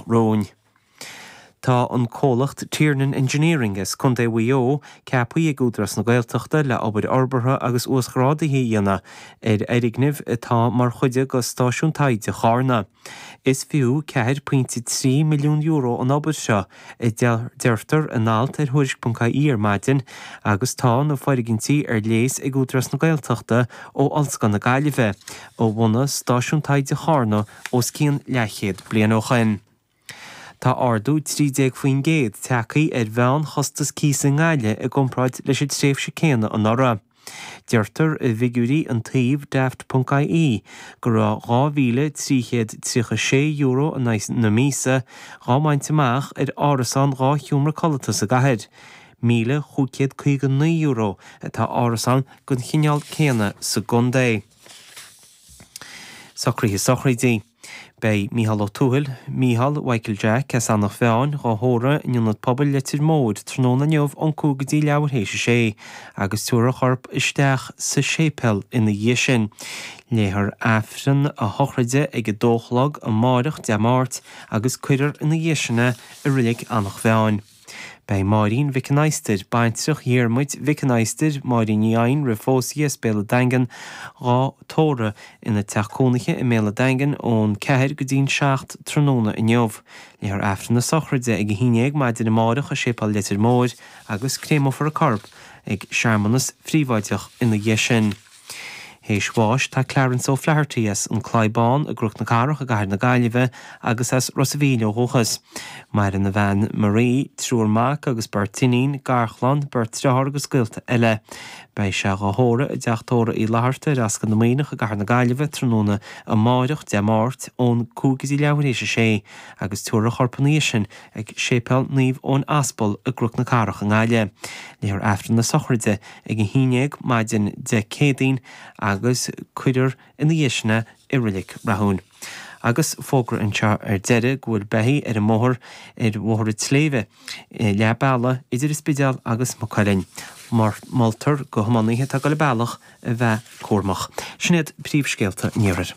romhainn. Tá an comhlacht Tiernan Engineering as Contae Mhaigh Eo ceaptha ag Údarás na Gaeltachta le obair fhorbartha agus uasghrádaithe a dhéanamh ar fhoirgneamh atá mar chuid de Stáisiún Taighde Charna. Is fiú €4.3 milliún an obair seo, a deirtear in alt ar Thuairisc.ie ar maidin, agus tá na foirgintí ar léas ag Údarás na Gaeltachta ó Ollscoil na Gaillimhe, a bhunaigh Stáisiún Taighde Charna os cionn leathchéad bliain ó shin. Tá ardú 13% tagtha ar mheánchostas cíosa i nGaillimh i gcomparáid leis an tréimhse céanna anuraidh. Deirtear i bhfigiúirí an tsuímh Daft.ie go raibh €2,336 in aghaidh na míosa dhá mbaint amach ar árasán dhá sheomra codlata sa gcathair. €1,559 atá árasán den chineál céanna sa gcontae. Socruithe sochraide. Beidh Mícheál Ó Tuathail, Mícheál Mhichael Jack, as Eanach Mheáin, dhá thórramh in Ionad Pobail Leitir Móir tráthnóna inniu ón 5 go dtí leathuair théis a sé agus tabharfar a chorp isteach sa séipéal ina dhiaidh sin. Léifear Aifreann a shochraide ag a dó a chlog amáireach, Dé Máirt, agus cuirfear ina dhiaidh sin é i Reilig Eanach Mheáin. Beidh Máirín Mhic an Adhastair, baintreach Dhiarmuid Mhic an Adhastair, Máirín Ní Eidhin roimh phósadh í as Béal an Daingin, dhá tórramh ina teach cónaithe i mBéal an Daingin ón 4 go dtí'n 7 tráthnóna inniu. Léifear Aifreann na sochraide ag 11 maidin amáireach i Séipéal Leitir Móir agus créamófar a corp ag searmanas phríobháideach ina dhiaidh sin. Théis bháis tá Clarence O'Flaherty as An Claí Bán i gCnoc na Cathrach i gCathair na Gaillimhe agus as Ros a' Mhíl ó dhúchas. Maireann a bhean Marie, triúr mac agus beirt iníon, garchlann, beirt driotháir agus gaolta eile. Beidh sé dhá thórramh i dteach tórraimh Uí Fhlatharta ar Ascaill na Muimhneach i gCathair na Gaillimhe tráthnóna amáireach, Dé Máirt, ón 5 go dtí leathuair théis a sé agus tabharfar a chorp ina dhiaidh sin ag Séipéal Naomh Eoin Aspal i gCnoc na Cathrach i nGaillimh. Léifear Aifreann na sochraide ag 11 maidin Dé Céadaoin agus cuirfear ina dhiaidh sin é i Reilig Rathúin. Agus fógra anseo ar deireadh go bhfuil beithígh ar an mbóthar ar Bhóthar an tSléibhe, leath bealaigh idir an Spidéal agus Maigh Cuilinn. Moltar do thiománaithe atá ag dul an bealach a bheith cúramach. Sin iad príomhscéalta an iarthair.